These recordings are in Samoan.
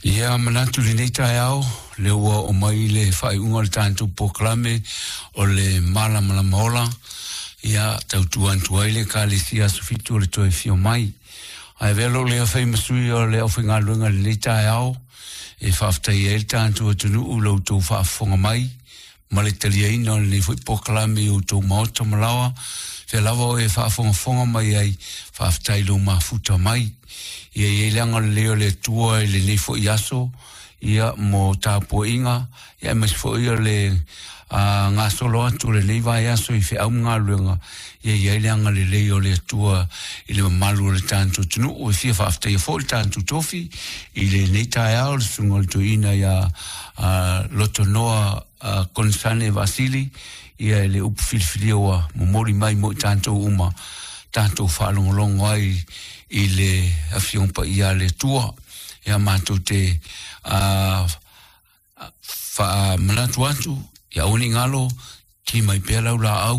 Ia manatu i lenei taeao, lea ua oo mai le faaiuga o le tatou polokalame o le Malamalama Ola, ia tautua atu ai le Ekalesia Aso Fitu o le toe afio mai. Ae avea lou lea fai ma sui o le aufaigaluega i lenei taeao, e faafetaia ai le tatou atunuu i lo outou faafofoga mai ma le taliaina o lenei foi polokalame i outou maota ma laoa, fea lava o e faafogafoga mai ai, faafetai i lou mafuta mai. Ia i ai le agalelei o le Atua i lenei foi aso, ia mo tapuaiga, ia aemaise foi o le a gasolo atu o lenei vaiaso i feau ma galuega, ia i ai le agalelei o le Atua i le mamalu o le tatou atunuu. E fia faafetaia foi le tatou tofi i lenei taeao, le susuga o le toeaina ia Lotonoa Konisane Vasili, ia i le upu filifilia ua momoli mai mo i tatou uma, tatou faalogologo ai i le Afioga Paia a le Atua. Ia matou te faamanatu atu, ia aua ne i galo, ki mai pea lau laau,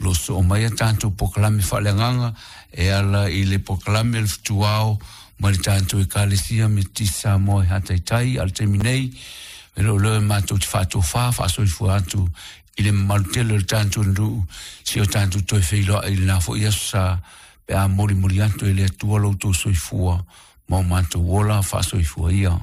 lo soo mai a tatou polokalame faaleagaga e ala i le polokalame o le Fetuao ma le tatou Ekalesia Metotisi Samoa i Hataitai. A o le taimi nei, e le o leo e matou te faatofa faasoifua atu i le mamalu tele o le tatou nuu, si o tatou toe feiloai i lena foi aso sa pe a molimoli atu e le Atua lo outou soifua ma o matou ola faasoifua ia.